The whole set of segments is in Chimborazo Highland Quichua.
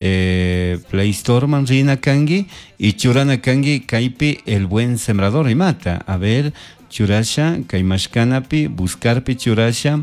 Play Store man rina kanki y churana kanki kaypi El Buen Sembrador imata. A ver, churasha kay mashkanapi buscarpi churasha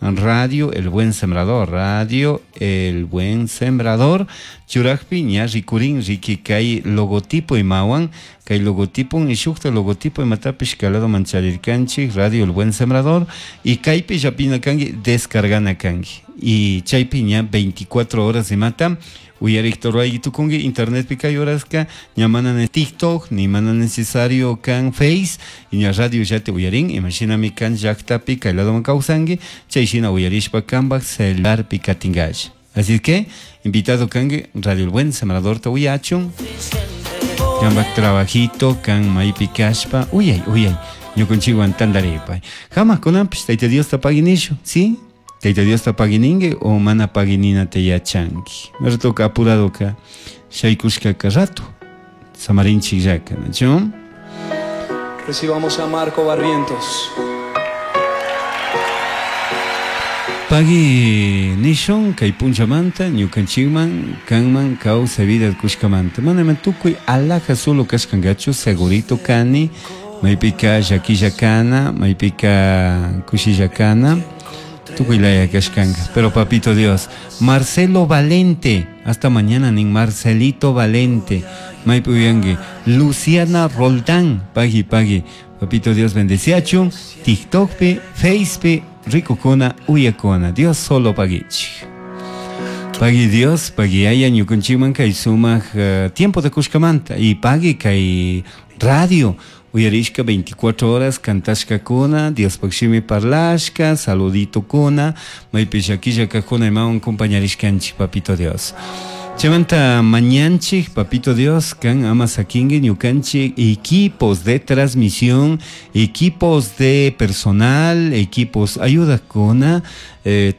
Radio El Buen Sembrador, Radio El Buen Sembrador, churajpi ña rikurin riki kay logotipo imawan, kay logotipo y shukta logotipo imatapish kalado mancharirkanchik Radio El Buen Sembrador y kaypi llapina kanki descargana kanki y chaypi ña 24 horas imata uyarikta ruray tukunki internetpi kay horaska ña mana TikTok ni mana necesario kan Face y ña radio llati uyarin imashinami kan llaktapi kay ladoman kawsanki chay shina uyarishpa kanpak celularpi katinkash. Así que invitado kanki Radio El Buen Sembradorta uyachun kanpak trabajito kan maypi kashpa uyay uyay ñukunchikwan tantaripay. Hamaq kunanpish Tayta Diosta paginishu, ¿sí? Tayta Diosta pagininki o mana pagininata yachanki. Ratoka apuradoka shaykushkaka rato samarinchikllaka, ¿nachu? Recibamos a Marco Barrientos. Pagui nishun kay punchamanta ñukanchikman kanman kawsay vida kushkamanta. Mana ima tukuy alhaja solo kashkankachu segurito kani maypika llakilla kana maypika kushilla kana tukuy laya kashkanka. Pero papito Dios, Marcelo Valente, hasta mañana nin Marcelito Valente, maypi uyanki Luciana Roldán, pagui pagui, papito Dios bendeciachun, TikTokpi, Facepi, rikukuna, uyakuna, Dios solo paguichik. Pagui Dios, pagui aya ñukunchikman kay sumaq tiempo de kushkamanta y pagui kay radio uyarishka 24 horas kantashkakuna, Diospaq shimi parlashka, saludito kuna, maypi llakilla kajuna imawan compañarishkanchik, papito Dios. Chaymanta mañanchik, papito Dios, kan ama sakinki ñukanchik equipos de transmisión, equipos de personal, equipos ayudakuna,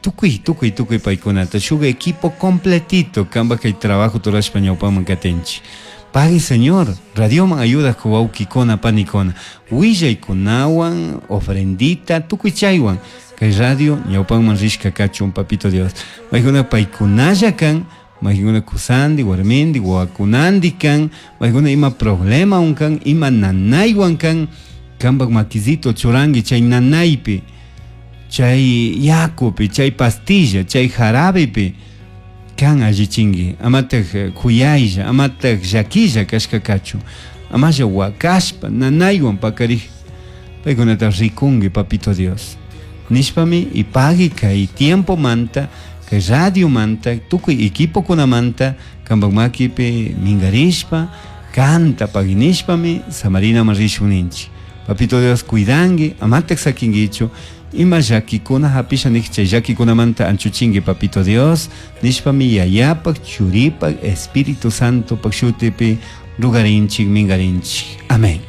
tukuy, tukuy, tukuy paykunata, shuk equipo completito, kanpak kay trabajo turashpa ñawpaman katinchik. Pagui Señor, radioman ayuda wawkikuna panikuna, willaykunawan, ofrendita, tukuy chaywan, kay radio ñawpanman rishka kachun, papito Dios. Maykuna paykunalla kan, maykuna kusandi, warmindi, wawakunandi kan, maykuna ima problema kan, ima nanaywan kan, kanpak makisito churanki chay nanaypi, chay yakupi, chay pastilla, chay jarabepi, kan allichinki, amataj kuyaylla, amataj llakilla kashka kachun, amalla wakashpa, nanaywan pakarij, paykunata rikunki, papito Dios. Nishpami y pagui kay tiempo manta, kay radio manta, tukuy equipo kunamanta, kanpak makipi mingarishpa, kanta paginishpami, samarinaman rishun ninchik. Papito Dios cuidanki, amataj sakinkichu, ima llakikuna hapisha nik chay llakikunamanta anchuchinki, papito Dios, nishpami yayapak, churipak, Espíritu Santo pak shutipi rugarinchik, mingarinchik. Amén.